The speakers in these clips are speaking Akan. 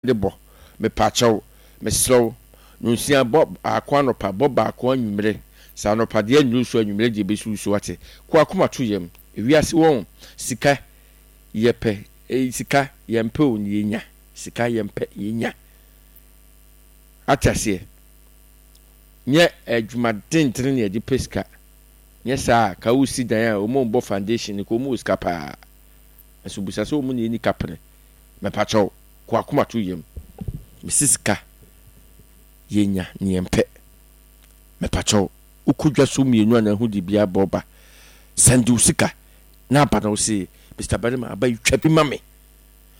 De bɔ, mepakyɛw, mesrɛ wo, nonsia bɔ baako anɔpa, bɔ baako anwummere, sɛ anɔpa deɛ annuru so a, anwummere deɛ ɛbɛsi wo so, wate? Ko akoma to yam, ewiase wɔn, sika yɛpɛ, eh, sika yɛmpɛ o, na yɛnya, sika yɛmpɛ, yɛnya. Ate aseɛ? Nyɛ adwuma dendene na yɛde pɛ sika, nyɛ saa a, ka wosi dan a, wɔn a wɔbɔ foundation no, ka wɔn wɔ sika paa, nso bisa sɛ wɔn na ɛni kapene. Mepakyɛw, kɔ akoma to yam. Mese sika yɛnya ne yɛmpɛ. Mepakyɛw, wokɔ dwa so mmienu anaa hu de bi abɔ ba. Sɛnde wo sika na aba na wose, Mister Barima, aba yi twa bi ma me.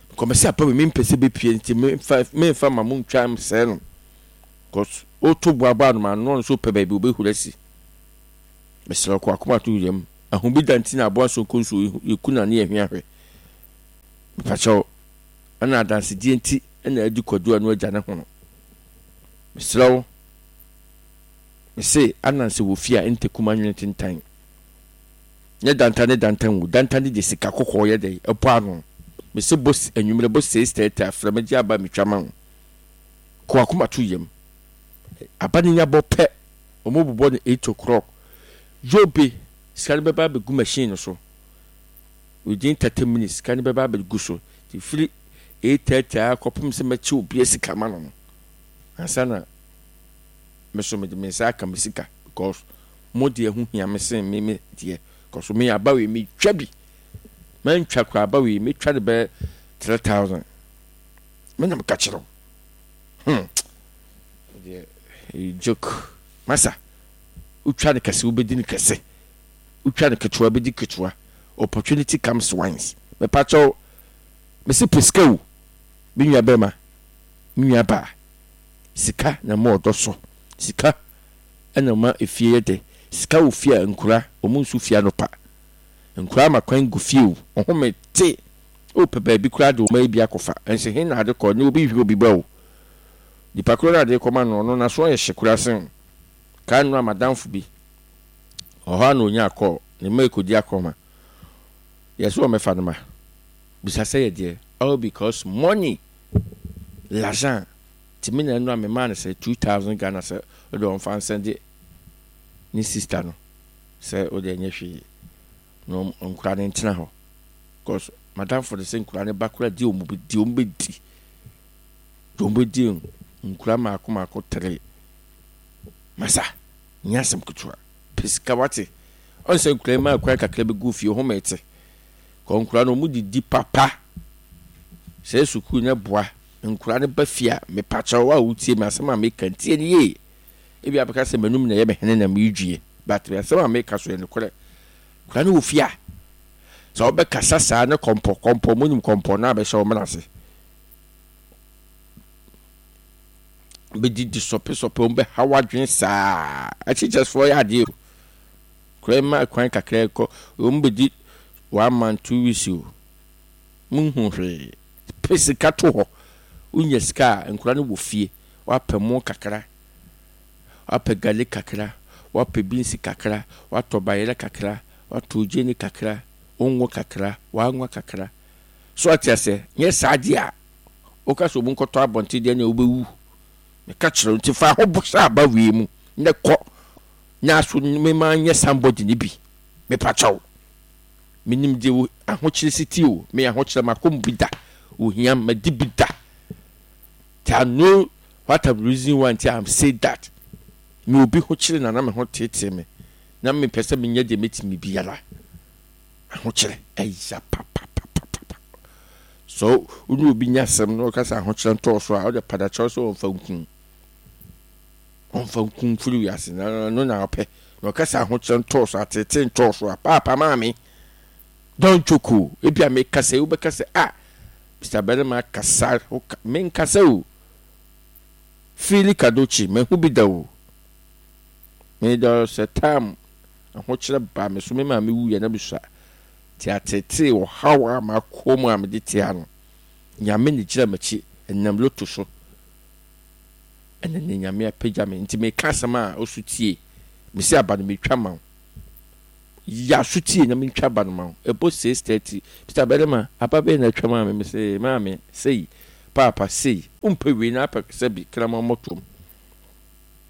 Because mese aba wei mempɛ sɛ bɛpue nti memfa memfa ma mo ntwa msɛe no. Because woto bo abɔ anoma ano ɔno nso pɛ baabi obɛhuri asi. Mesrɛ wo kɔ akoma to yam. Ahobida nti na aboa nso nkɔ nsuo yɛku no a ne yɛhwea hwɛ. Mepakyɛw, ɛna adansedie nti na adi kwadu a no agya ne hono. Mesrɛ wo, mese Ananse wɔ fie a ntakum anwene tentan. Nyɛ danta ne danta ngu, danta ne deɛ sika kɔkɔɔ yɛ dɛn ɛbɔ ano. Mese bɔ anwummerɛ bɔ 6:30 a frɛ me gye aba metwa ma wo. Kɔ akoma to yam. Aba no nya bɔ pɛ, wɔn bobɔ no 8 o'clock. Yobe, sika no bɛba abɛgu machine no so. Within 30 minutes sika no bɛba abɛgu so. Nti firi 8:30 ara kɔpem sɛ mɛkyɛ obiara sika ma no no, ansa na me so mede me nsa aka me sika because mo deɛ ho hia me sen me me deɛ because me aba wei metwa bi mantwa koraa aba wei metwa de bɛyɛ 3000 me na meka kyerɛ wo deɛ joke masa wotwa no kɛse wobɛdi no kɛse Wotwa no ketewa bɛdi ketewa Opportunity comes once Mepakyɛw mese pɛ sika o Me nua bɛma, me nua baa Sika na ɛma ɔdɔ sɔ Sika na ɛma efie yɛ dɛ Sika wɔ fie a nkura wɔn nsu fie anɔpa Nkura ama kwan gu fie o Ɔhome te o pɛ baabi koraa de wo mma yi bi akɔfa Ɛnso he na ade kɔ ne obi nhwɛ obi ba o Nipa korɔ no a ade rekɔma no ɔno n'aso ayɛ hye koraa sen wo Kaa nnora m'adamfo bi Ɔhɔ ara na onyaa kɔɔ ne mma rekɔdi akorɔma. Yɛ sɛ wɔmmɛfa no ma. Bisa sɛ yɛ deɛ? All because money, l'argent. Nti me na ɛno a memaa no sɛ 2000 Ghana sɛ wode ɔmfa nsɛnde ne sister no sɛ wode ɛnyɛ hwee na nkora no ntena hɔ. Because madamfo no sɛ nkora no ba kora di wɔn di wɔn bɛdi di wɔn bɛdi nkora mmaako mmaako tere masa. Nyɛ asɛm ketewa. Pɛ sika wate. Ɔn sɛ nkura yi maa kwan kakra bi gu fie home te. Kɔ nkura no ɔmo didi papa. Sɛ sukuu no boa nkura no ba fie a mepakyɛw a wotie me asɛm a meka ntie no yie. Ebi abɛka sɛ m'anum na ɛyɛ me hene na meredwie but asɛm a meka so yɛ nokorɛ. Nkura no wɔ fie a sɛ wobɛkasa saa ne kɔmpɔ kɔmpɔ monim kɔmpɔ no abɛhyɛ wo mena ase. Bɛdidi sɔpesɔpe, wɔn bɛha w'adwene saa. Akyekyefoɔ yɛ adeɛ o. Kura ma kwan kakra kɔ, wɔn bɛdi one month, 2 weeks o. Monhu hwee. Pɛ sika to hɔ. Wonya sika a, nkura no wɔ fie. Woapɛ mo kakra, woapɛ gari kakra, woapɛ beans kakra, woatɔ bayerɛ kakra, woatɔ gyeene kakra, wongo kakra, w'anwa kakra. So ate aseɛ? Nyɛ saa deɛ a, Woka sɛ obi nkɔtɔ abɔnten deɛ nea wobɛwu. Meka kyerɛ wo nti fa ho bɔ sɛ aba wei mu na kɔ na so mema nyɛ somebody no bi. Mepa kyɛw. Menim deɛ wo ahokyere si ti o. Me ahokyere makɔ mu bi da. Ohia madi bi da. Ti I know what I'm reason why nti I'm say that. Me obi ho kyere na na me ho teetee me. Na mepɛ sɛ menyɛ deɛ mɛtumi biara. Ahokyerɛ ɛya papapapapa. So wo ne obi nya asɛm na ɔka sɛ ahokyerɛ ntɔɔ so a, wode padakyɛw sɛ ɔmfa nku ɔmfa nku mfiri wiase na ɛno na ɔpɛ. Na ɔka sɛ ahokyerɛ ntɔɔ so, ateetee ntɔɔ so a, paapa maame, don't joke o. Ebi a meka sɛ wobɛka sɛ ah, Mr. Barima kasa, menkasa o. Fili Kadochi, mahu bi da o. Me there was a time ahokyerɛ baa me so, me maame wuiɛ na mesua. Nti ateetee ɔhaw a makɔ mu a mede te ha no, Nyame na gyina m'akyi, ɛnam loto so ɛna ne Nyame apagya me. Nti meka asɛm a ɔso tie, mese aba no metwa ma wo. Yɛ aso tie na mentwa aba no ma wo. Ɛbɔ 6:30, Mr. Barima, aba bɛn na atwa maa me? Mese maame, sei. Paapa sei, wompɛ wei na apɛ sɛ bi kraman mmɔtoam.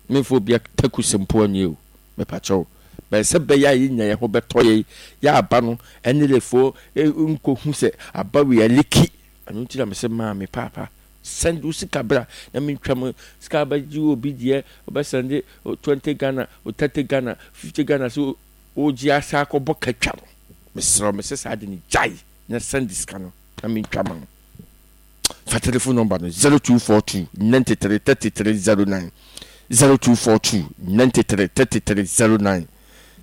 Memfa obi atakusɛm mpo anyɛ o, mepakyɛw. Bɛn sɛ bɛyɛ a yɛnya yɛn ho bɛtɔ yɛn, yɛ aba no ɛne lefoɔ nkɔhu sɛ aba wei aliki. Ɛno nti na mese maame paapa send wo sika bra na mentwa mu sika bɛgye obi deɛ wobɛsɛnde 20 Ghana, 30 Ghana, 50 Ghana sɛ wogye asa akɔbɔ katwa no. Mesrɛ wo mese saa de no gyae na send sika no na mentwa ma wo. Fa telephone number no 0242 93 33 09 0242 93 33 09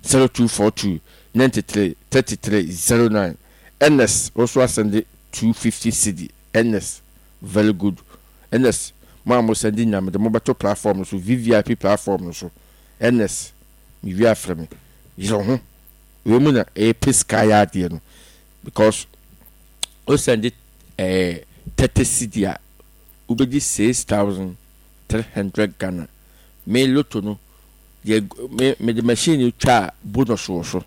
0242 93 33 09 Ernest wo so asɛnde 250 cedi Ernest very good Ernest mo a mo sɛnde nyinaa mede mo bɛto platform no so VVIP platform no so Ernest mewie afrɛ me yere ho wei mu na ɛyɛ pɛ sika yɛ adeɛ no because wo sɛnde ɛɛ 30 cedi a wobɛdi 6300 Ghana me loto no deɛ me mede machine no twa a bonus wɔ so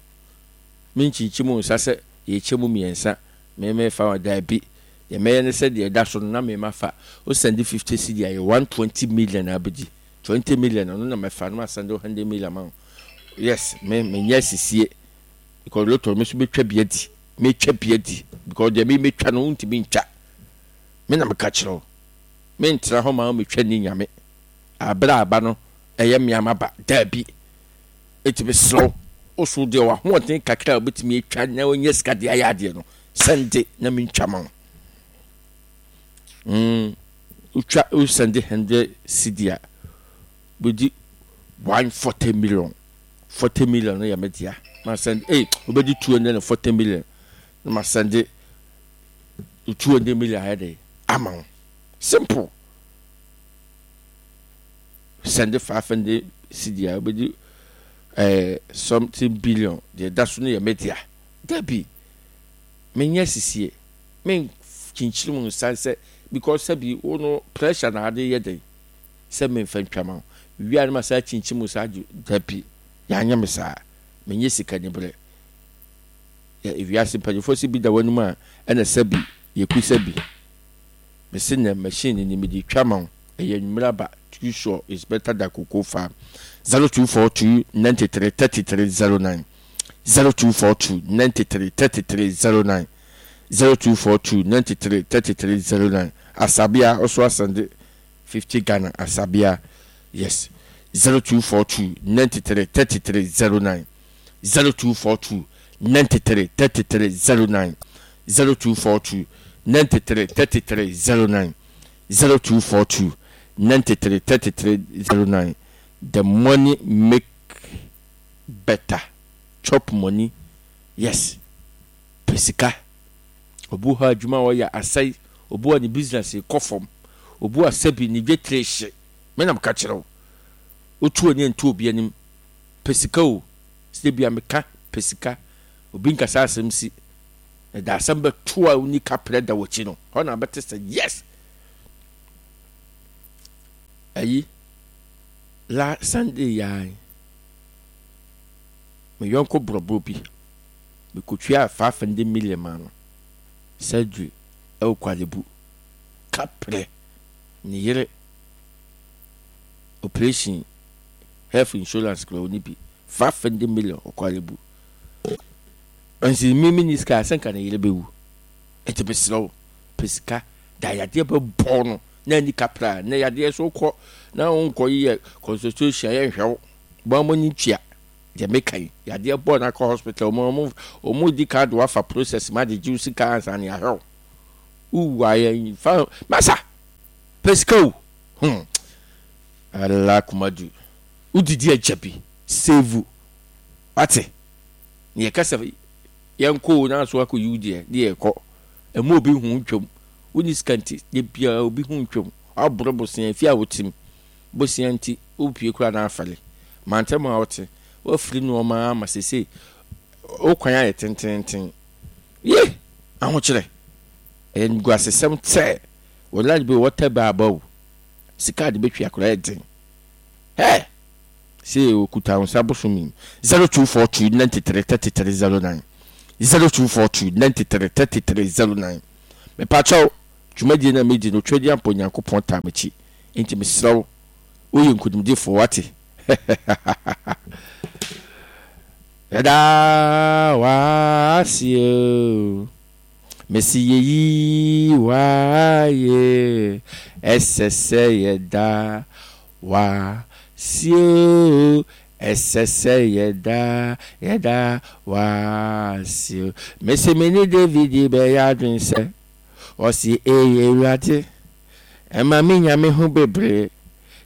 menkyinkyim wo nsa sɛ yɛkyɛ mu mmiɛnsa me mefa wa daabi deɛ mɛyɛ ne sɛ deɛ ɛda so no na me mafa wo sɛnde 50 cedi a yɛ 120 million a wobɛdi 20 million ɔno na mɛfa no ma sɛnde 100 million ma wo yes me menyɛ asisie because lotto me nso bɛtwa bi adi metwa bi adi because deɛ me metwa no wontumi ntwa me na meka kyerɛ wo mentena hɔ ma wo metwa ni nyame aberɛ aba no ɛyɛ mmea maba daabi ɛti mesrɛ wo wo so deɛ wahoɔden kakra a wobɛtumi atwa na wonya sika deɛ ayɛ adeɛ no sɛnde na mentwa ma wo mm, wotwa wosɛnde 100 cedi a bɛdi 140 million 40 million no yɛ me dea ma sɛnde ei wobɛdi 240 million na ma sɛnde 200 million ayɛ dɛ ama wo simple sɛnde 500 cedi a wobɛdi eh, something billion deɛ ɛda so no yɛ me dea dabi menyɛ sisie menkyinkyini mu nsa sɛ because sɛbi wo no pressure na ade yɛ dɛn sɛ memfa ntwa ma wo. Mewie a na masan akyinkyim wo saa agye. Dabi, yɛanyɛ me saa. Menyɛ sikaniberɛ. Yɛ wiase mpanyinfoɔ se bi da w'anim a, ɛna sɛ bi, yɛkusa bi. Mese nɛ machine ni mede twa ma wo. Ɛyɛ anwummerɛ aba. Too sure is better than cocoa farm. 0242 93 33 09 0242 93 33 09 0242 93 33 09 Asabea ɔso asɛnde 50 Ghana Asabea yes 0242 93 33 09 0242 93 33 09 0242 93 33 09 0242 93 33 09 The money make better chop money yes pɛ sika obi wɔ hɔ a adwuma a ɔyɛ asɛe obi wɔ ne business kɔ fam Obu asɛ bi ne dwetire hye. Me na meka kyerɛ wo. Wotu w'ani nto obi anim. Pɛ sika o. Sɛ bia meka pɛ sika. Obi nkasa asɛm si. Na da asɛm bɛto a wonni kaprɛ da w'akyi no, hɔ na bɛte sɛ yes. Ayi, la Sunday yaa me yɔnko borɔborɔ bi, mekɔtuaa 500 million maa no, surgery ɛwɔ Korle Bu. Kaprɛ ne yere operation health insurance kura ɔni bi 500 million ɔkɔ alebu nti mi mi ni sika asɛ nka ne yere bɛwu nti mesrɛ wo pɛ sika da yadeɛ bɛbɔ no na ani kaprɛ a na yadeɛ so kɔ na wonkɔ yɛ consultation yɛ nhwɛ wo bɔn mo ni tua deɛ meka yi yadeɛ bɔ na akɔ hospital ɔmo ɔmo di card wafa process ma de gye wo sika ansa ne ahwɛ wo Ooh ayɛ fa masa pɛ sika o hmm ala kumadu wodidi agya bi save wate ne yɛka sɛ yɛnkɔ o na so akɔ yiw deɛ ne yɛkɔ ɛmu obi ho ntwam wonni sika nti de biara obi ho ntwam waborɔ bosea fi a wotim bosea nti wopie kura na afɛle mantam a wote wafiri nneɛma ama sese wo kwan ayɛ tententen Ye! Ahokyerɛ! Ɛyɛ animguasesɛm sɛ wɔ light bill wɔtɛ bɛ aba o. Sika a de bɛtwi akora yɛ den. Hɛ! Sei okuta wo nsa bosome yi. 0242 93 33 09 0242 93 33 09 Mepakyɛw, Dwumadie no a medi no, Tweaduampɔ Nyankopɔn taa m'akyi. Enti mesrɛ wo, woyɛ nkonimdifoɔ, woate? Yɛda w'ase o, mese yɛyi w'ayɛ, ɛsɛ sɛ yɛda w'ase o, ɛsɛ sɛ yɛda, yɛda w'ase o. Mese me ne David bɛyɛ adwene sɛ, ɔse ee Awurade. Ɛma minya me ho bebree,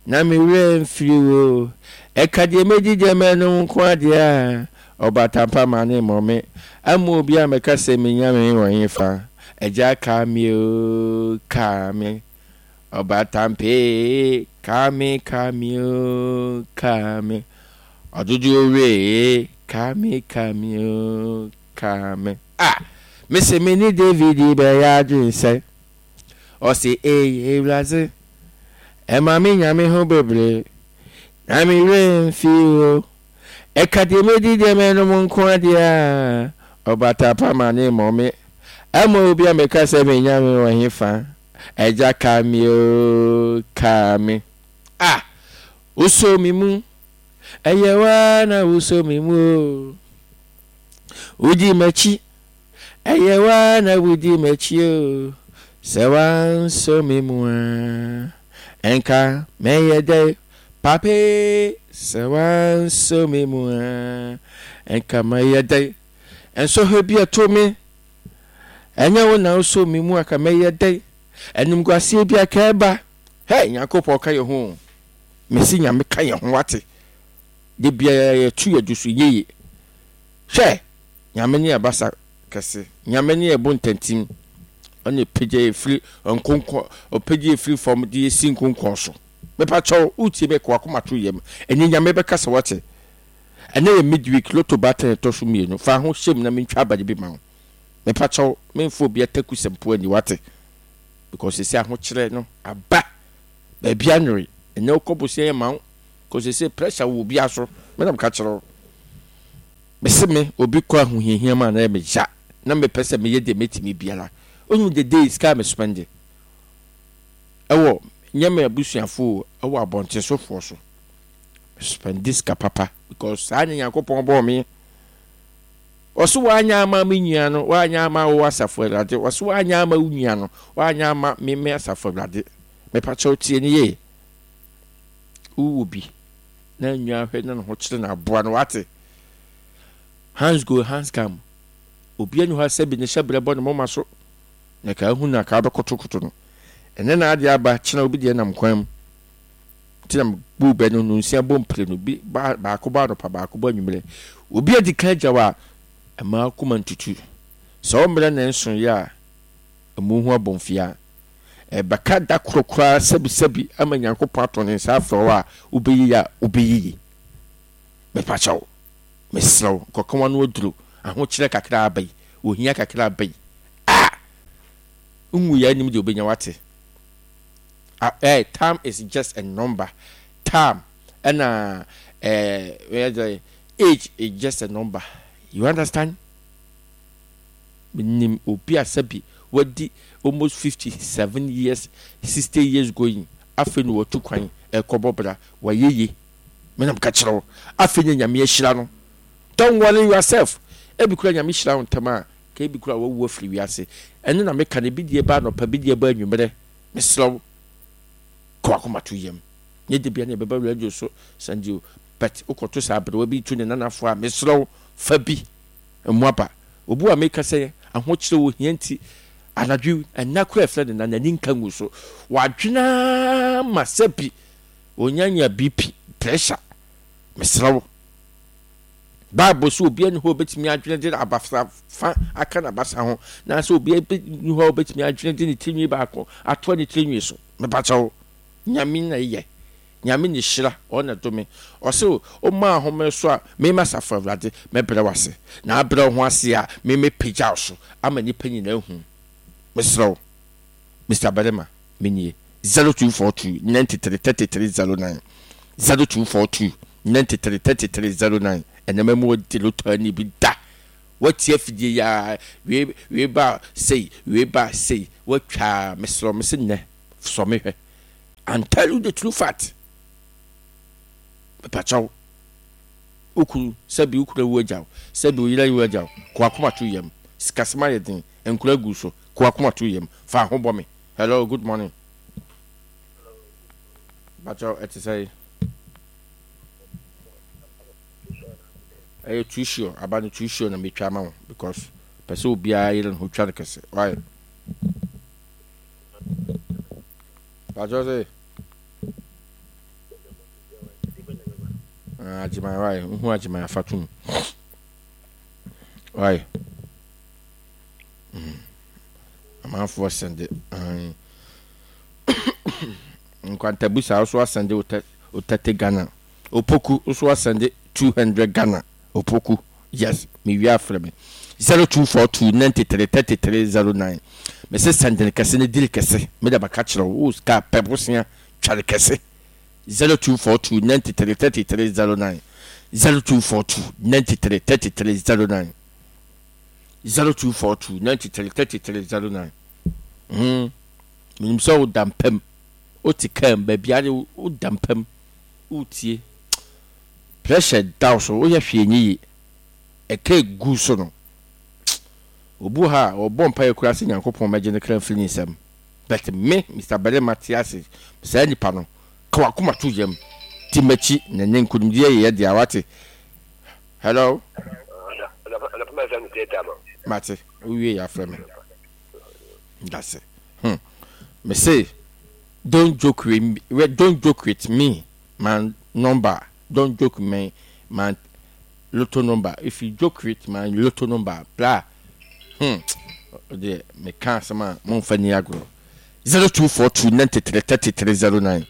na me werɛ mfiri wo. Ɛka deɛ mɛdi deɛ mɛnom nko ara deɛ a, ɔbatampa ma ne mmɔ me. Amma obi ammɛka sɛ me nyame wɔ hefa. Agya ka me o, ka me. Ɔbatampa ee, ka me, ka me o, ka me. Ɔdodoɔ wura ee, ka me, ka me o, ka me. Ah! Mese me ne David bɛyɛ adwene sɛ. Ɔse ei Ewuradze, ɛma me nya me ho bebree, na me werɛ mmfi wo. Ɛka deɛ medi deɛ mɛnom nko ara deɛ a, ɔbata pa ma ne mmɔ me. Ɛmma obi a meka sɛ me Nyame wɔ hefa, Agya ka me o, ka me. Ah, wosɔ me mu, ɛyɛ wo ara na wosɔ me mu o. Wodi m'akyi. Ɛyɛ wo ara na wudi m'akyi o, sɛ woansɔ me mu a, ɛnka mɛyɛ dɛn? Papa e, sɛ woansɔ me mu a, ɛnka mɛyɛ dɛn? Nsɔhwɛ bi ɛto me, ɛnyɛ wo na wosɔ me mu a, ka mɛyɛ dɛn? Animguaseɛ bi a ka ɛba, hɛ, Nyankopɔn ka yɛn ho o, mese Nyame ka yɛn ho wate, da biara yɛto yɛn do so yie, hwɛ. Nyame ne abasa kɛse. Nyame ne ɛbo ntantim. Ɔne pagya yɛ firi nkonkɔn, ɔpagya yɛ firi fam de yɛ si nkonkɔn so. Mepa kyɛw, wotie me, kɔ w'akoma to yam. Ɛnɛ Nyame bɛkasa wate. Ɛnɛ yɛ midweek, lotto baatan ɛtɔ so mmienu. Fa ho hyɛ mu na mentwa aba no bi ma wo. Mepa kyɛw, memfa obi atakusɛm po ani wate. Because sɛsɛ ahokyerɛ no aba. Baabi anwere. Ɛnɛ wokɔ bosea yɛ ma wo. Because sɛsɛ pressure wɔ obiara so. Me na meka kyerɛ wo. Mese me obi kɔ ahohiahia mu a na ɛyɛ me ya na mepɛ sɛ meyɛ deɛ mɛtumi biara. Wonim the day sika a me spɛnde ɛwɔ nyɛ me abusuafoɔ o ɛwɔ abɔntensofoɔ so. Me spɛnde sika papa because saa ne Nyankopɔn bɔɔ me. Ɔso wanyɛ ama me nua no, wanyɛ ama wo asafo Awurade. Ɔso wanyɛ ama wo nua no, wanyɛ ama me me asafo Awurade. Mepa kyɛw tie ne yie. Wowɔ bi. na nwa hwɛ na ne ho kyerɛ no aboa no wate hands go hands come obi ani hɔ a sɛbi ne hyɛbrɛ bɔ ne moma so na ka ahu na ka bɛkotokoto no ɛnɛ na adeɛ aba kyena obi deɛ nam kwan mu nti na bu bɛ no nonsia bɔ mpire no bi baako bɔ anɔpa baako bɔ anwummerɛ obi adi kan agya wa ɛma akoma ntutu sɛ ɔmmerɛ na nso yɛ a ɛmu ho abɔmfia Ɛbɛka da koro koraa sɛbisɛbi ama Nyankopɔn ato ne nsa afrɛ wo a, wobɛyɛ yie a, wobɛyɛ yie. Mepakyɛ wo, mesrɛ wo, nkɔka w'ano aduro, ahokyerɛ kakra aba yi, ohia kakra aba yi, ah! Nwuiɛ anim deɛ wobɛnya wate. Ah, eh, time is just a number. Time, ɛna, eh, age is just a number. You understand? Menim obi a sɛbi wadi almost 57 years, 60 years going, afei na watu kwan ɛrekɔbɔ bra, wayɛ yie. Me na meka kyerɛ wo, afei na Nyame ahyira no. Don't worry yourself. Ebi koraa Nyame hyira wo ntɛm a, ka ebi koraa wawu afiri wiase. Ɛno na meka no, ebi deɛ ba anɔpa, ebi deɛ ba anwummerɛ. Mesrɛ wo, kɔ w'akoma to yam. Nyɛ da biara na yɛbɛba radio so Sunday o, but wokɔto sɛ aberewa bi retu ne nanafoɔ a, mesrɛ wo, fa bi. Mmoaba. Obu a meka sɛ ahokyerɛ ohia nti anadwo yi nna koraa ɛfrɛ no na n'ani nka ngu so. Wadwene ara ma sɛbi onyanya BP, pressure. Mesrɛ wo. Bible sɛ obiara nni hɔ a obetumi adwene de abasa fa aka n'abasa ho, na sɛ obiara nni hɔ a obetumi adwene de ne tirinwi baako atoa ne tirinwi so. Mepakyɛ wo. Nyame na eyɛ. Nyame ne hyira, ɔno na dome. Ɔse wo ma ahome so a, me m'asafo Awurade mɛbrɛ wo ase. Na abrɛ wo ho ase a, me mɛpagya wo so ama nnipa nyinaa ahu. Mesrɛ wo, Mister Barima, me nie. 0242 93 33 09 0242 93 33 09 Ɛnɛ mɛma wadi lotto ani bi da. Woatie afidie yi ara, wei, wei ba sei, wei ba sei, woatwa ara, mesrɛ wo, mese nnɛ, sɔ me hwɛ. And tell you the true fact. Mepakyɛw, wo kunu, sɛbi wo kunu awu agya wo, sɛbi wo yere awu agya wo, ko akoma to yam. Sikasɛm ayɛ den, nkura agu so, ko akoma to yam, fa ho bɔ me. Hello, good morning. Mepakyɛw, ɛte sɛn? Ɛyɛ too sure aba no too sure na metwa ama wo because pɛ sɛ obiara yere ne ho twa no kɛse why pakyɛ sɛ ah, agyeman why nhu agyeman afa tom why mm. amanfoɔ sɛnde nkwantabusa wo so asɛnde wo tɛte Ghana Opoku nso asɛnde 200 Ghana Opoku yes me wie afrɛ me 0242 93 33 09 me se sɛnde no kɛse ne diri kɛse me de bɛka kyerɛ wo wo sika pɛ bosea tware kɛse 0242 93 33 09 0242 93 33 09 0242 93 33 09 hmm menim sɛ woda mpam wote kaa mu baabi ade woda mpam woretie pressure da wo so woyɛ hwee nyɛ yie ɛka egu so no obi wɔ ha a ɔbɔ mpaeɛ koraa sɛ Nyankopɔn mɛgye ne kra mfiri ne nsam but me Mister Barima te ase saa nipa no ka wakoma to yam ti makyi na ne nkonimdie yɛ yɛ dea wate hello mate wowie yɛ afrɛ me ndase hmm mese Don't joke with don't joke with me my number don't joke me my lotto number if you joke with my lotto number bra hmm deɛ meka asɛm a momfa ni agorɔ 0242 93 33 09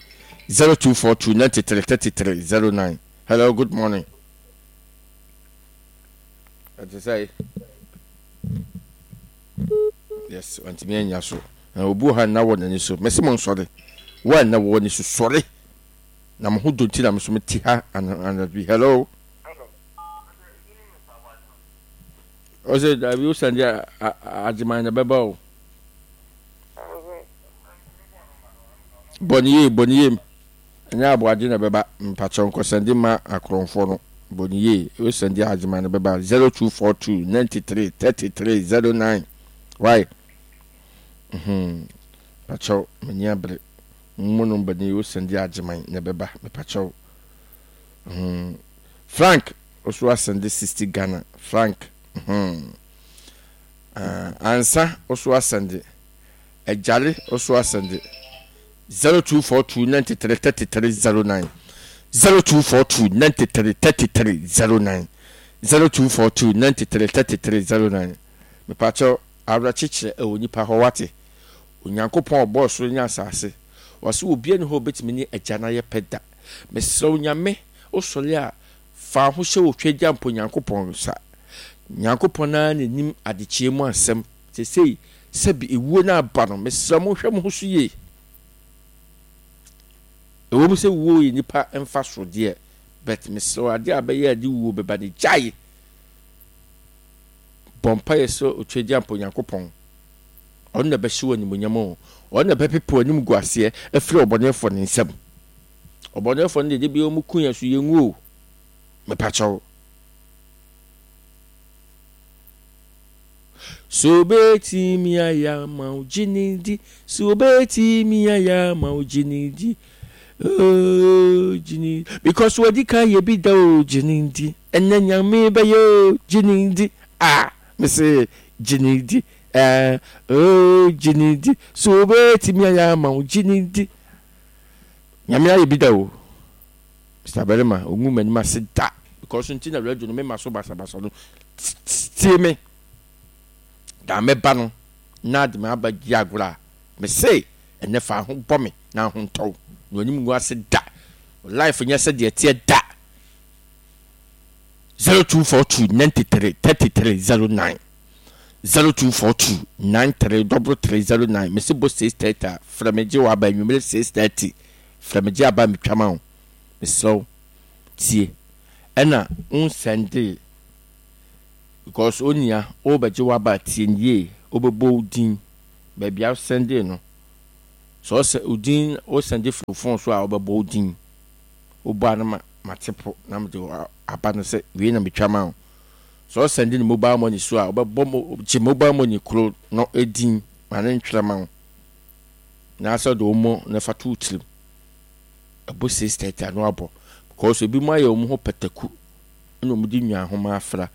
0242 93 33 09 hello good morning ɛte sɛ Yes, wantumi annya so. Na obi wɔ ha nna wɔ n'ani so. Mese mo nsɔre. Wo a nna wɔ w'ani so, sɔre. Na mo ho dɔ nti na me so mete ha anadwo yi. Hello. Ɔsɛ dabi wo sande agyeman na bɛba o. Bɔ ne yie, bɔ ne yie. Ɛnyɛ aboagye na ɛbɛba. Mpakyɛw nkɔsɛnde mma akorɔmfoɔ no. Bɔ no yie. Wo sɛnde a agyeman no bɛba. 0242 93 33 09. Why? Mhm. Mpakyɛw, m'ani abere. Mo number ni, wo sɛnde a agyeman na ɛbɛba. Mepakyɛw. Mhm. Frank, wo so asɛnde 60 Ghana. Frank. Mhm. Uh, ansa, wo so asɛnde. Agyare, wo so asɛnde. 0242 93 33 09 0242 93 33 09 0242 93 33 09 Mepakyɛw, awerɛkyekyerɛ ɛwɔ nipa hɔ wate? Onyankopɔn a ɔbɔɔ soro ne asase, ɔse obia ni hɔ a obetumi ne Agya no ayɛ pɛ da. Mesrɛ wo Nyame, wosɔre a fa wo ho hyɛ Otweagyampɔ Nyankopɔn nsa. Nyankopɔn ara na nim adekyeɛ mu asɛm. Seesei sɛbi ewuo no aba no, mesrɛ mo nhwɛ mo ho so yie. Ɛwɔ mu sɛ wuo yɛ nipa mfaso deɛ, but mesrɛ wo adeɛ a bɛyɛ a de wuo bɛba no gyae. Bɔ mpaeɛ srɛ Otweagyampɔ Nyankopɔn. Ɔno na ɛbɛhyɛ wo animuonyam o. Ɔno na ɛbɛpepa w'anim gu aseɛ afiri ɔbɔneɛfoɔ no nsam. Ɔbɔneɛfoɔ no deɛ da biara wɔn ku yɛn so yɛnwu o. Mepakyɛw. So obetumi ayɛ ama wo gye ne di? So obetumi ayɛ ama wo gye ne di? Oh, gye ne because wadi kan yɛ bi da o gye ne di. Ɛnɛ nyame bɛyɛ o gye ne di. Ah, me se gye ne di. Eh, oh, gye ne di. So obetumi ayɛ ama wo gye ne di. Nyame ayɛ bi da o. Mr. Barima, ongu m'anim ase da. Because nti na radio no mema so basabasa no. Tie me. Da mɛba no na de m'aba di agorɔ a, mese ɛnɛ fa ho bɔ me na ho ntɔ wo. Na w'anim ngu ase da. Wo life nyɛ sɛ deɛ ɛteɛ da. 0242 93 33 09 0242 93 33 09 mese bɔ 6:30 a frɛ me gye w'aba anwummere 6:30 frɛ me gye aba metwa ma wo mesrɛ wo tie ɛna wo nsɛndee. Because onua wobɛgye w'aba tie no yie, wobɛbɔ wo din baabi a wosɛndee no. Sɛ ɔsɛ wo din wosɛnde firi wo phone so a wobɛbɔ wo din. Wobɔ a na ma mate po na mede aba no sɛ wei na metwa ma wo. Sɛ ɔsɛnde no mobile money so a wobɛbɔ mo gye mobile money koro no din ma ne ntwerɛ ma wo. Na sɛ ɔde wo mo na fa to wo tirim. Ɛbɔ 6:30 ano abɔ because ebi mo ayɛ wɔn ho pataku na wɔn de nwa ahoma afra.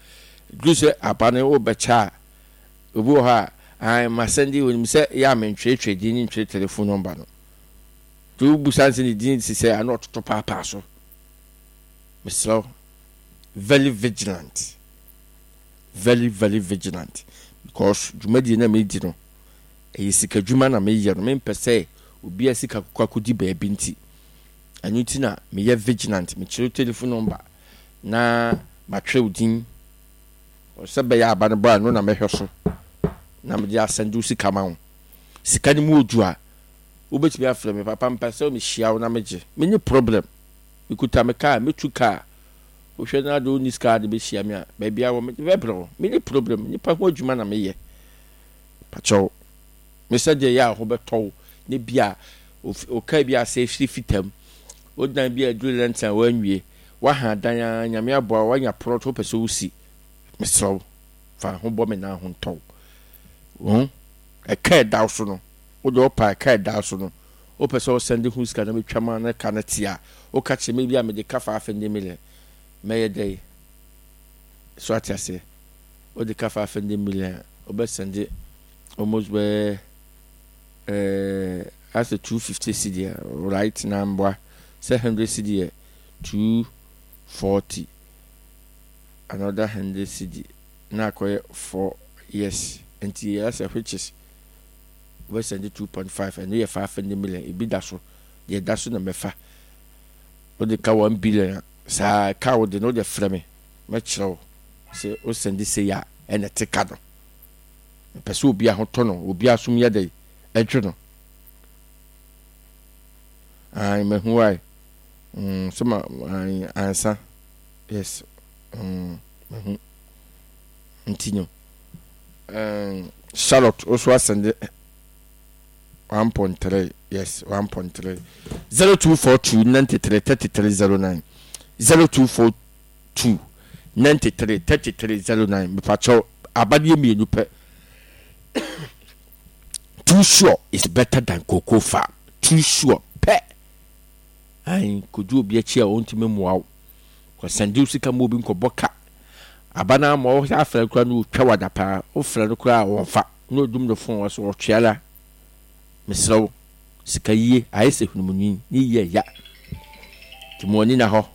Duru sɛ aba no wobɛkyɛ a obi wɔ hɔ a ae masɛnde onim sɛ yɛ a mentwerɛtwerɛ din ne ntwerɛ telephone number no. Nti wobusa no sɛ ne din te sɛ a na ɔtoto paapaa so. Mesrɛ wo very vigilant very very vigilant because dwumadie na medi no ɛyɛ sika dwuma na meyɛ no mempɛ sɛ obi a sika kɔkɔ akɔdi baabi nti ɛno nti na meyɛ vigilant mekyerɛ telephone number na matwerɛ wo din sɛ bɛyɛ aba no bɔ a ɛno na mɛhwɛ so na mede asɛnde wo sika ma wo sika no mu odu a wobɛtumi afrɛ me papa mpɛ sɛ mehyia wo na megye menye problem mekuta me kaa mɛtu kaa wohwɛ no ade wonni sika ade bɛhyia me a baabi a wɔ mede bɛbrɛ wo menni problem nipa ho adwuma na meyɛ pakyɛw me sɛ deɛ yɛ a ho bɛtɔ wo ne bi a wo kaa bi asɛ firi fitam wo dan bi a aduru lɛnten a woanwie woaha dan a nyame aboa woanya prɔt wopɛ sɛ wosi mesrɛ wo fa ho bɔ me na ho ntɔ wo ɛka ɛda wo so no wode ɔpa ɛka ɛda wo so no wopɛ sɛ ɔsɛnde ho sika na metwa ma na ka no te a woka kyerɛ me bi a mede ka 500 million mɛyɛ dɛn so ate aseɛ wode ka 500 million a wobɛsɛnde almost bɛyɛ eh, asɛ 250 cedi a right na mboa sɛ 100 cedi yɛ 240 another 100 cedi na akɔyɛ 4 yes nti asɛ which is wobɛsɛnde 2.5 ɛno yɛ 500 million ebi da so deɛ ɛda so na mɛfa wode ka 1 billion a saa ka wode no wode frɛ me mɛkyerɛ wo sɛ wosɛnde sei a ɛna ɛte ka no mepɛ sɛ obi ahotɔ no obi asom yɛ dɛ ɛdwo no ae mahu wae mm, sɛ ma ae ansa yes mm, mahu nti no um, Charlotte also asɛnde 1.3 yes 1.3 0242 93 33 09 0242 93 33 09 mepakyɛw abadeɛ mmienu pɛ too sure is better than cocoa farm too sure pɛ ayi kodu obi akyi a ɔntumi mmoa wo kɔsɛnde wo sika ma obi nkɔbɔ ka aba no ama ɔsɛ afrɛ koraa no ɔtwa wada paa wofrɛ no koraa a wɔmfa na ɔdum no fon wɔ so ɔtwea la mesrɛ wo sika yie ayɛ sɛ hunumuni ne yie ya nti mo ani na hɔ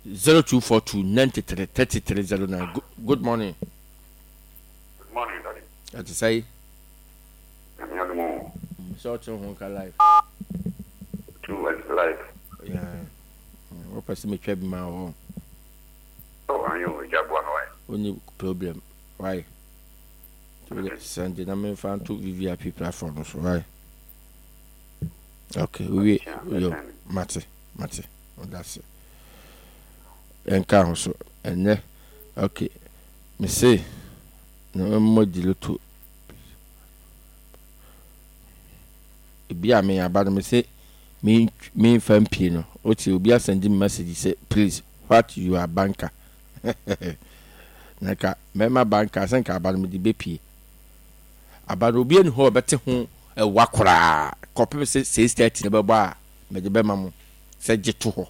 0242 93 33 09 good morning. Good morning daddy. Ɛte sɛ yi. Nyame adom o. Sɛ ɔte ho nka life. Too much life. Yeah. Wopɛ sɛ metwa bi ma wɔ. Oh, anyo, ɛgya boa me wae. Wonni problem, why? Sɛnde na memfa nto VVIP platform no so, why? Okay, we yo, mate, mate, that's it. Ɛnka ho so, ɛnɛ, okay, me se, na mmɔ di loto. Ebi a me aba no me se, me me nfa mpie no, otie obi asɛnde me message sɛ please what you are banker. Na nka mɛma banker sɛ nka aba no mede bɛpie. Aba no obi ani hɔ a ɔbɛte ho ɛwa koraa kɔpem sɛ 6:30 no bɛbɔ a mede bɛma mo sɛ gye to hɔ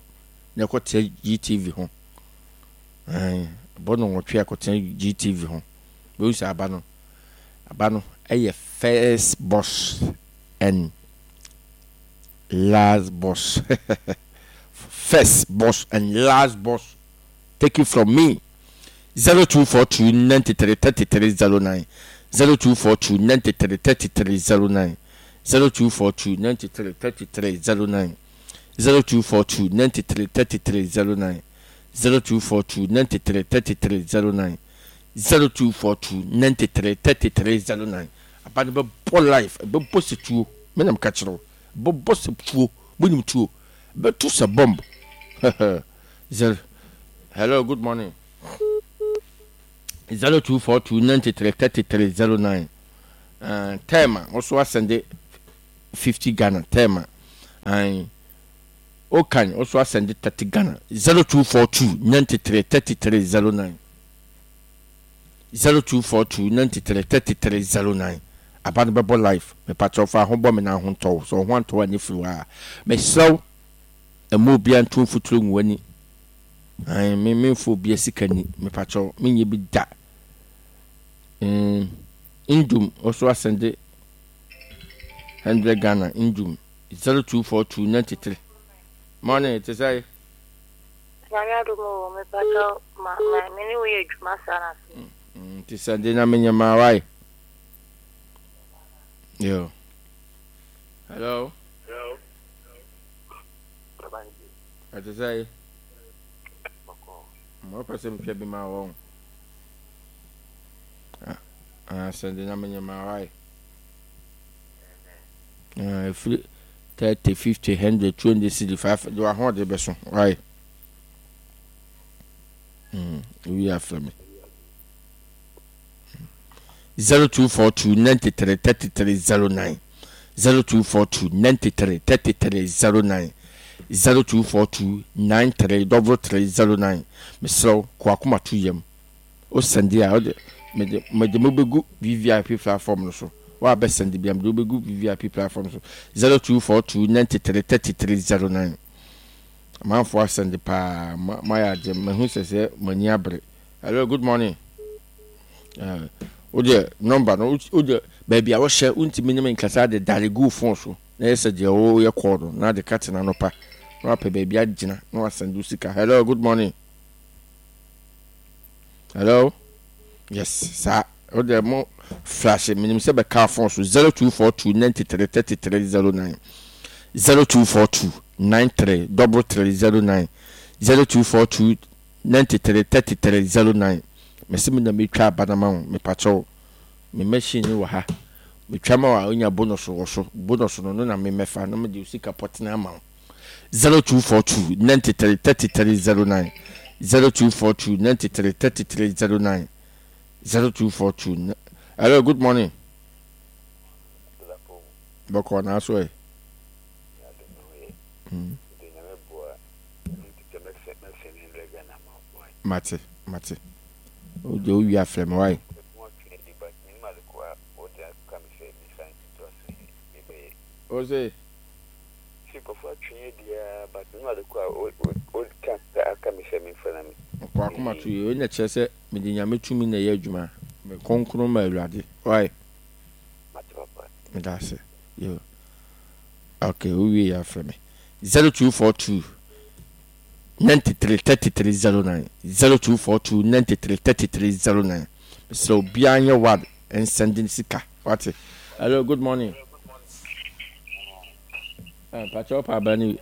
na ɛkɔtena GTV ho. Ɛbɔ no nwɔtwe a kɔtena GTV ho. Bɛhu sɛ aba no aba no ɛyɛ first boss and last boss. First boss and last boss. Take it from me. 0242 93 33 09 0242 93 33 09 0242 93 33 09 0242 93 33 09 0242 93 33 09 0242 93 33 09 aba no bɛbɔ life ɛbɛbɔ sɛ tuo me na meka kyerɛ wo ɛbɛbɔ sɛ tuo monim tuo ɛbɛto sɛ bomb zero hello good morning. 0242 93 33 09. Uh, Tema, also asɛnde 50 Ghana. Tema. Aye. Okan, also asɛnde 30 Ghana. 0242 93 33 09. 0242 93 33 09. Aba no bɛbɔ live. Mepakyɛw fa ho bɔ me na ho ntɔw. Sɛ ɔho antɔw a ne firi hɔ a. Mesrɛ wo, ɛma obiara nto mfuturo ngu w'ani. Ae, me memfa obiara sika ni. Mepakyɛw, menyɛ bi da. Mm, Ndum, ɔso asɛnde 100 Ghana, Ndum, 0242 93. Morning, te sɛ? Nyame adom o, mepakyɛw ma ma me ne wo yɛ adwuma saa na se. Nti sɛ de na menyɛ ma wae. Yo. Hello. Hello. Ɛte sɛ yi. Mo pɛ sɛ metwa bi ma wɔn. Ah, sɛ de na menyɛ ma wae. Ah, ɛfiri 30, 50, 100, 200 cedi, 5, de w'ahoɔden bɛso. Wae. Mm, owi afrɛ me. 0242 93 33 09 0242 93 33 09 0242 93 33 09 mesrɛ wo kɔ akoma to yam wo sɛnde a wode mede mede mo bɛgu VVIP platform no so wo a bɛsɛnde bia mede wo bɛgu VVIP platform so 0242 93 33 09 amanfoɔ asɛnde paa moayɛ agye mahu sɛ sɛ mo ani abere. Hello, good morning. Eh, wo deɛ nɔmba no wo deɛ baabi a wohyɛ wontumi ne me nkasa de dare gu phone so na yɛ sɛ deɛ woyɛ kɔɔ no na de ka tena no pa na wapɛ baabi agyina na wasɛnde wo sika. Hello, good morning. Hello. Yes, saa wo deɛ mo flash menim sɛ bɛka phone so 0242 93 33 09 0242 93 33 09 0242 93 33 09 mese me na metwa aba no ama wo mepakyɛw me machine no wɔ ha metwa ma wo a wonya bonus wɔ so bonus no no na me mɛfa na mede wo sika pɔtene ama wo 0242 93 33 09 0242 93 33 09 0242 hello good morning bɔkɔ na so ɛ mm. Mate, mate. Wo deɛ wowie a frɛ me wai. Wo se? Ɔkɔ akoma to yie. Wei na kyerɛ sɛ mede Nyame tumi na ɛyɛ adwuma. Me kronkron ma Awurade. Wai? Meda ase. Yo. Okay, wowie yɛ afrɛ me. 0242 93 33 09 0242 93 33 09 mesrɛ obiara nyɛ wad nsɛnde ne sika wate. Hello, good morning. Eh, mpakyɛ wo paaba ne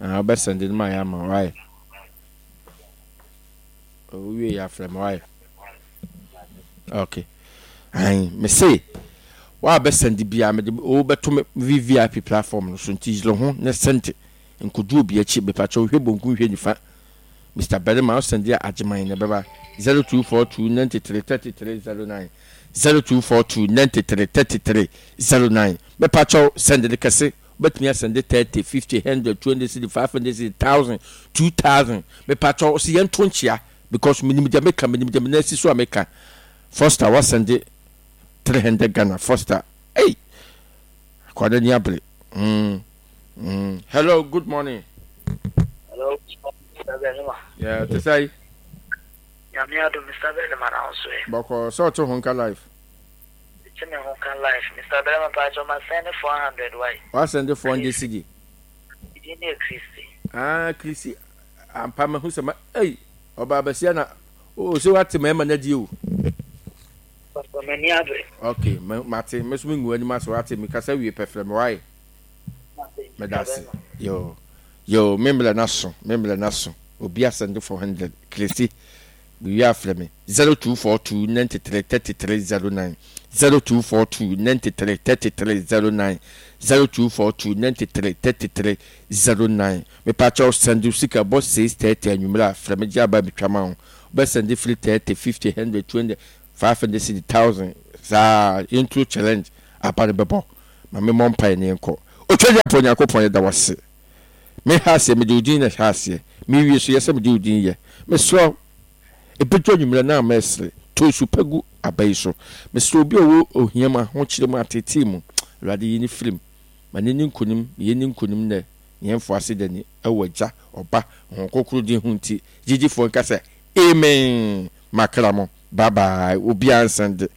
ah, wobɛsɛnde no ma yɛ ama wae. Wowie yɛ afrɛ me wae. Okay. Ayi, me se wa bɛ send bia me de wo bɛto me VVIP platform no so nti yere ho ne send nkodu obi akyi mepa kyɛw hwɛ bonku hwɛ nifa Mr. Barima wo send a agyeman na ɛbɛba 0242 93 33 09 0242 93 33 09 mepa kyɛw send de kɛse wobɛtumi asɛnde 30 50 100 200 cedi 500 cedi 1000 2000 mepa kyɛw sɛ yɛnto nkyea because menim deɛ meka menim deɛ me nan si so a meka Foster wasɛnde 300 Ghana Foster ei akwada ni abere mm, mm. Hello, good morning. Hello, Mr. Benima. Yeah, te sɛ Nyame adom Mr. Benima na wo so ɛ. Bɔkɔ sɛ ɔte ho nka life. Te me ho ka life Mr. Benima pa kyɛ ma send 400 why? Wa send 400 cedi. Idin ne Christy. Ah, Christy ampa mahu sɛ ma ei ɔbaa basia na o sɛ wate mmarima no adie o. Pastor m'ani abere. Ok mate me so me ngu anim ase wate me kasa wie pɛ frɛ me wae. Meda ase yo yo me mmerɛ no aso me mmerɛ no aso obi asɛnde 400 kresi Mewie a frɛ me 0242 93 33 09 0242 93 33 09 0242 93 33 09 Mepakyɛw send wo sika bɔ 6:30 anwummere a frɛ me gye aba betwa ma wo. Wobɛsɛnde firi 30, 50, 100, 200, 500 cedi, 1000 saa yɛnturo challenge aba no bɛbɔ. Ma me mmɔ mpaeɛ na yɛnkɔ. Otwadiafoɔ Nyankopɔn yɛda wo ase. Me ha aseɛ mede wo din na ɛhyɛ aseɛ. Me wie so yɛ sɛ mede wo din yɛ. Mesrɛ wo ɛbɛduru anwummerɛ na mɛsere. Tɔ nsu pa gu aba yi so. Mesrɛ obi a ɔwɔ ohia mu, ahokyere mu, ateetee mu, Awurade yi no firi mu. Ma no nni nkonim, ma yɛnni nkonim nnɛ, na yɛmfa aseda ni wɔ Agya, Ɔba, Honhom Kronkron din ho nti, gyegyefoɔ nka sɛ, Amen! Makra mo, bye bye, obiara nsɛnde.